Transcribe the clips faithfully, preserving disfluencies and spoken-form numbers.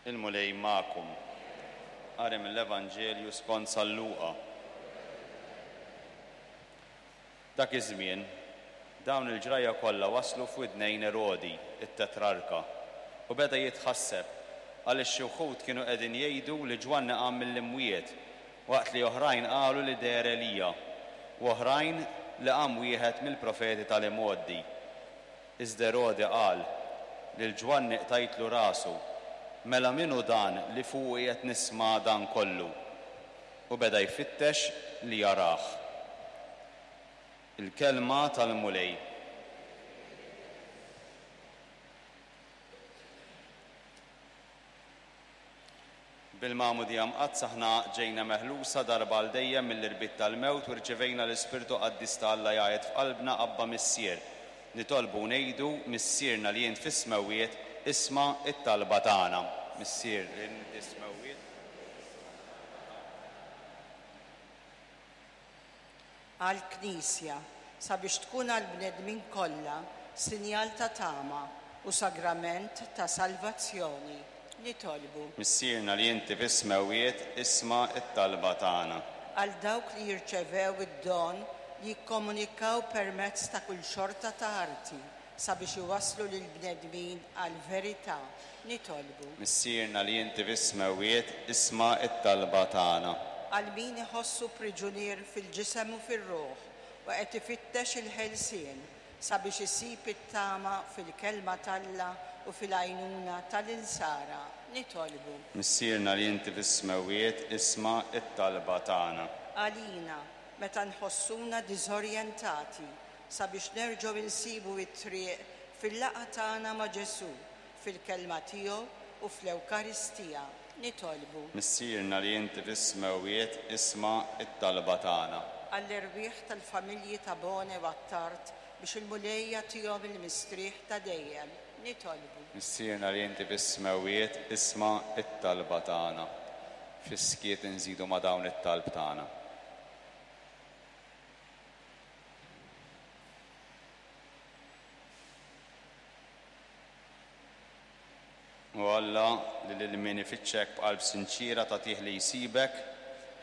Il-Mulej magħkom. Qari mill-Evanġelju skont San Luqa. Dak iż-żmien, dawn il-ġrajja kollha waslu f'widnejn Erodi, it-tetrarka, u beda jitħasseb għaliex xi wħud kienu qegħdin jgħidu li Ġwanni qam mill-imwiet, waqt li oħrajn qalu li deher Elija, u oħrajn li qam wieħed mill-profeti tal-imgħoddi. Iżda Erodi qal, lil Ġwanni qtajtlu rasu, mela min hu dan li fuqu qiegħed nisma' dan kollu? U beda jfittex li jarah. Il-kelma tal-Mulej. Bil-magħmudija mqaddsa aħna ġejna meħlusa darba għal dejjem mill-irbit tal-mewt u rċevejna l-Ispirtu Qaddis ta' Alla jgħid f'qalbna Abba Missier. Nitolbu u ngħidu, Missierna li int fis-smewwiet, isma' it-talba tagħna. Missier li int fis-smewwiet. Għall-Knisja, sabiex tkun għall-bnedmin kollha sinjal ta' tama u sagrament ta' salvazzjoni. Nitolbu. Missierna li inti fis-smewwiet, isma' it-talba tagħna. Għal dawk li jirċevew id-don li jikkomunikaw permezz ta' kull xorta ta' arti sabiex iwasslu lill-bnedmin għall-verità. Nitolbu. Missierna li inti fis-smewwiet, isma' it-talba tagħna. Għal min iħossu priġunier fil-ġisem u fir-ruħ u qed ifittex il-ħelsien sabiex isib it-tama fil-kelma t'Alla u fil-għajnuna tal-insara. Nitolbu. Missierna li inti fis-smewwiet, isma' it-talba tagħna. Għalina, meta nħossuna diżorjentati sabiex nerġgħu insibu it-triq fil-laqgħa tagħna ma' Ġesù, fil-kelma tiegħu u fl-Ewkaristija. Nitolbu. Missierna li inti fis-smewwiet, isma' it-talba tagħna. Għall-erwieħ tal-familji ta' Bone u Attard biex il-Mulej jagħtihom il-mistrieħ ta' dejjem. Nitolbu. Missierna li inti fis-smewwiet, isma' it-talba tagħna. Fis-skiet inżidu ma' dawn it-talb tagħna. O Alla, li lil min ifittxek b'qalb sinċiera tagħtih li jsibek,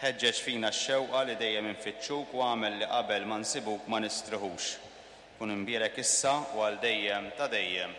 ħeġġeġ fina x-xewqa li dejjem infittxuk u agħmel li qabel ma nsibuk ma nistriħux. Kun imbierek issa u għal dejjem ta' dejjem.